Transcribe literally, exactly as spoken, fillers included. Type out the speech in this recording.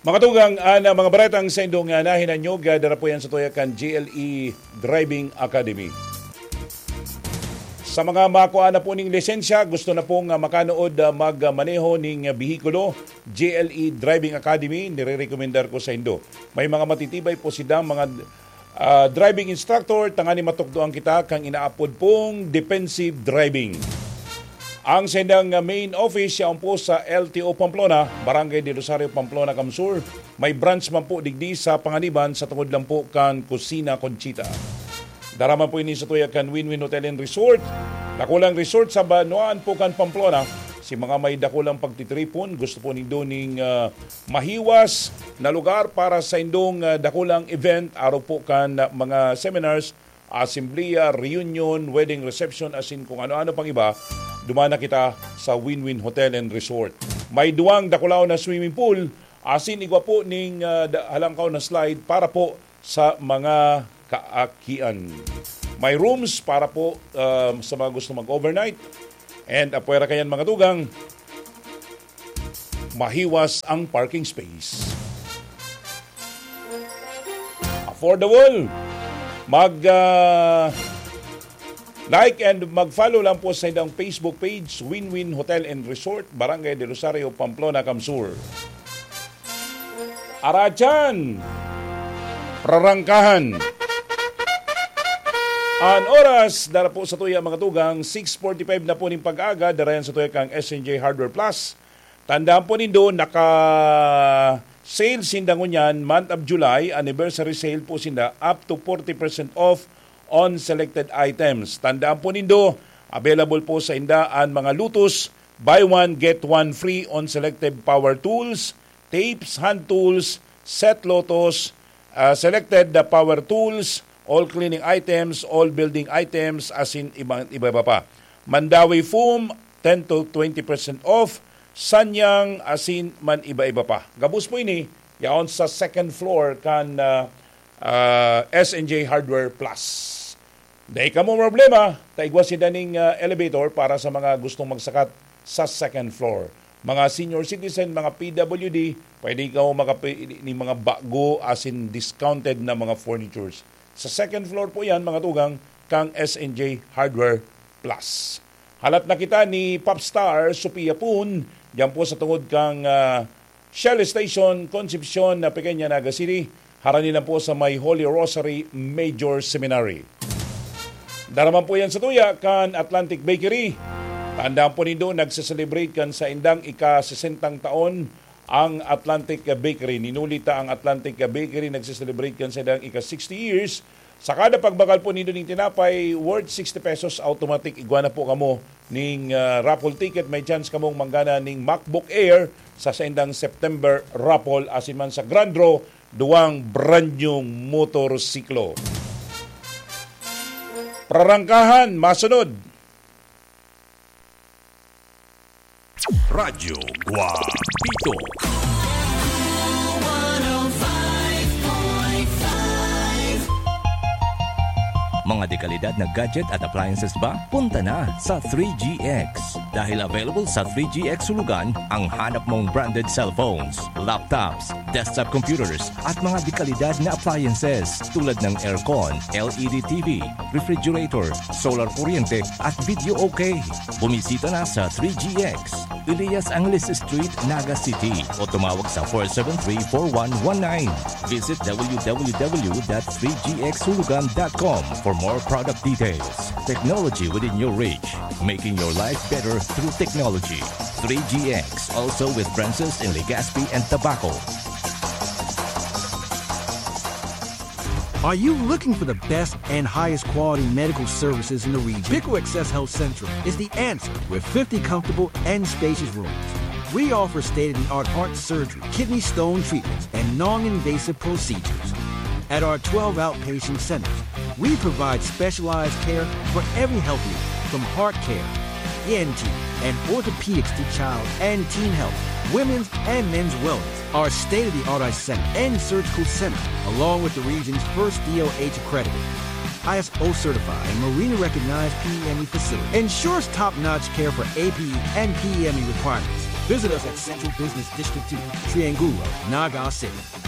Mga tugang, an mga baretang saindong, ah, nahinanyog, ah, dara po yan sa tuya kan G L E Driving Academy. Sa mga makuha na po ning lisensya, gusto na pong, ah, makanood, ah, magmaneho ning, ah, behikulo, G L E Driving Academy, nirerekomendar ko sa indo. May mga matitibay po silang mga, ah, driving instructor, tanganing matukdoan kita kan inaapod pong defensive driving. Ang saindang, ah, main office yaon po sa L T O Pamplona, Barangay del Rosario, Pamplona, Camsur. May branch man po digdi sa Panganiban, sa tungod lang po kan Kusina Conchita. Dara man po ini sa tuya kan Win-Win Hotel and Resort. Dakulang resort sa banwaan po kan Pamplona. Si mga may dakulang pagtitripon, gusto po nindo ning, ah, mahiwas na lugar para sa indong, ah, dakulang event, arog po kan, ah, mga seminars, asembleya, reunion, wedding reception, asin kung ano-ano pang iba, duman na kita sa Win-Win Hotel and Resort. May duwang dakulaon na swimming pool, asin igwa po ning, ah, da-, halangkaw na slide para po sa mga kaakian. May rooms para po, ah, sa mga gusto mag-overnight. And apwera kayan, mga tugang, mahiwas ang parking space. Affordable. Mag, ah, like and mag-follow lang po sa ilang Facebook page, Win-Win Hotel and Resort, Barangay del Rosario, Pamplona, Camsur. Aratyan! Prarangkahan! An oras, dara po sa tuya, mga tugang, six forty-five na po ning pag-aga, dara yan sa tuya kang S N J Hardware Plus. Tandaan po nindo, naka-sale sinda ngunyan, month of July, anniversary sale po sinda, up to forty percent off on selected items. Tandaan po nindo, available po sa inda an mga Lotus, buy one, get one free on selected power tools, tapes, hand tools, set Lotus, ah, selected the power tools, all cleaning items, all building items, asin iba, iba-iba pa. Mandawi foam, ten to twenty percent off, sanyang, asin man iba-iba pa. Gabos po ini, yaon sa second floor kan, ah, ah, S N J Hardware Plus. Dai kamo problema, ta igwa sinda ning, ah, elevator para sa mga gustong magsakat sa second floor. Mga senior citizen, mga P W D, pwede kamo makapi-, ning mga bago asin discounted na mga furnitures. Sa second floor po yan, mga tugang, kang S N J Hardware Plus. Halat na kita ni Popstar Sophia Poon, diyan po sa tungod kang, ah, Shell Station, Concepcion na Pequeña, Naga City. Harani lang po sa may Holy Rosary Major Seminary. Dara man po yan sa tuya kan Atlantic Bakery. Tandaan po nindo, nagse-celebrate kan saindang ika-sesentang taon ang Atlantic Bakery. Ninuli ta ang Atlantic Bakery, nagse-celebrate kan saindang ika-sixty years. Sa kada pagbakal po nindo ning tinapay worth sixty pesos, automatic igwa na po kamo ning, ah, raffle ticket. May chance kamong manggana ning MacBook Air sa saindang September raffle, asin man sa grand draw, duwang brand new motorsiklo. Prarangkahan, masunod. Radyo Guapito. Mga dekalidad na gadget at appliances ba? Punta na sa three G X. Dahil available sa three G X Hulugan ang hanap mong branded cellphones, laptops, desktop computers, at mga dekalidad na appliances tulad ng aircon, L E D T V, refrigerator, solar kuryente, at video okay. Bumisita na sa three G X, Elias Angeles Street, Naga City, o tumawag sa four seven three, four one one nine. Visit W W W dot three G X hulugan dot com for more product details. Technology within your reach, making your life better through technology. Three G X, also with branches in Legazpi and Tabaco. Are you looking for the best and highest quality medical services in the region? Pico Access Health Central is the answer with fifty comfortable and spacious rooms. We offer state-of-the-art heart surgery, kidney stone treatments, and non-invasive procedures. At our twelve outpatient centers, we provide specialized care for every health need, from heart care, E N T, and orthopedics to child and teen health, women's and men's wellness. Our state-of-the-art eye center and surgical center, along with the region's first D O H accredited, I S O certified, and Marina recognized P E M E facility, ensures top-notch care for A P E and P E M E requirements. Visit us at Central Business District two, Triangulo, Naga City.